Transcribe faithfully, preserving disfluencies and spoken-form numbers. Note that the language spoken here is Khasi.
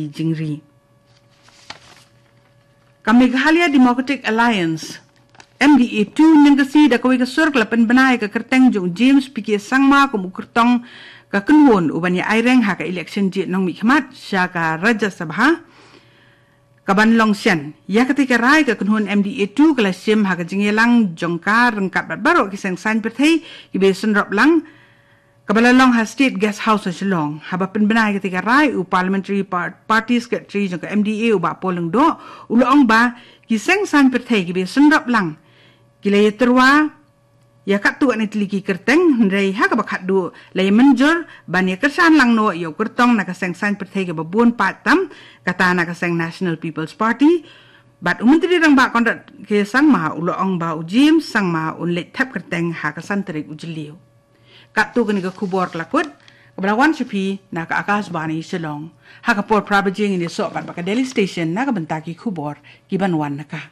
jingri. Ka Meghalaya Democratic Alliance, M D A two, nangta shi da kawei ka sur ka la pynbna ïa ka kyrteng jong James P K Sangma kum u kyrtong ka kynhun u ban ïa aireng ha ka election jied nongmihkhmat sha ka Rajya Sabha ka ban long shen. Ïa katei ka rai ka kynhun M D A two ka la shim ha ka jingïalang jong ka ryngkat bad baroh ki seng saiñ pyrthei kiba ïasynrop lang, kaba la long ha State Guest House ha Shillong. Haba pynbna ïa katei ka rai, u Parliamentary Par-, Party Secretary jong ka M D A, u Bah Paul Lyngdoh, u la ong ba ki seng saiñ pyrthei kiba ïasynrop lang ki la ïatyrwa ïa katto katne tylli ki kyrteng, hynrei ha kaba khatduh la ïamynjur ban ïakyrshan lang noh ïa u kyrtong na ka seng saiñ pyrthei kaba bun paid tam, kata na ka seng National People's Party. Bad u Myntri Rangbah Conrad K Sangma u la ong ba u James Sangma un leit thep kyrteng ha ka san tarik u Jylliew. Katto kane ka khubor ka la kut, kaba la wan sha phi na ka Akashvani Shillong. Ha ka por phra baje ngin ïasoh pat bad ka Delhi Station na ka bynta ki khubor kiban wan na ka